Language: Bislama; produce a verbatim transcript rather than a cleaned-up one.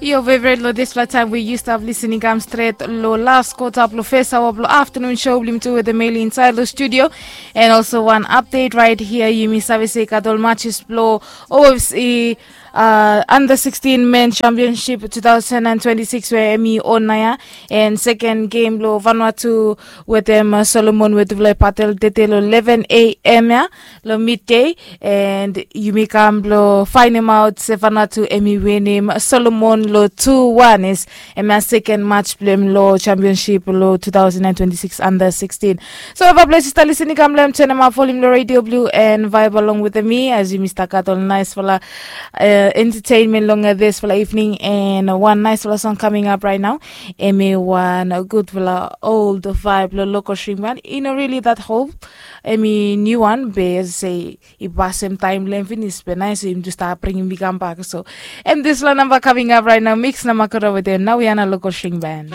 Your favorite lo dispela time we you stop listening come straight lo last quarter lo first hour lo afternoon show blim tu with the mail inside lo studio. And also one update right here, you miss service katol matches lo ofc uh, under sixteen men championship two thousand and twenty-six where emi on naya. And second game lo Vanuatu with them uh, Solomon with Vlai Patel detail eleven a.m. Yeah, lo midday. And yumi kam blo fainemaot se Vanuatu emi winim Solomon lo two one is emi a second match blem lo championship lo two thousand and twenty-six under sixteen. So eva ples i stap lisin i kam blem turn em up volume lo radio blue and vibe along with me as yumi stap gat ol nice fala uh, entertainment long uh, this fala evening and one nice fala song coming up right now. Emi one good fala old vibe lo local stream one, you know, really that hope. Emi new one be as I say i pasem taem blong hem finis be nais im tu stap bringim mi kam bak. So em dispela namba coming up right now, mix na makoro with them. Now we are na local string band.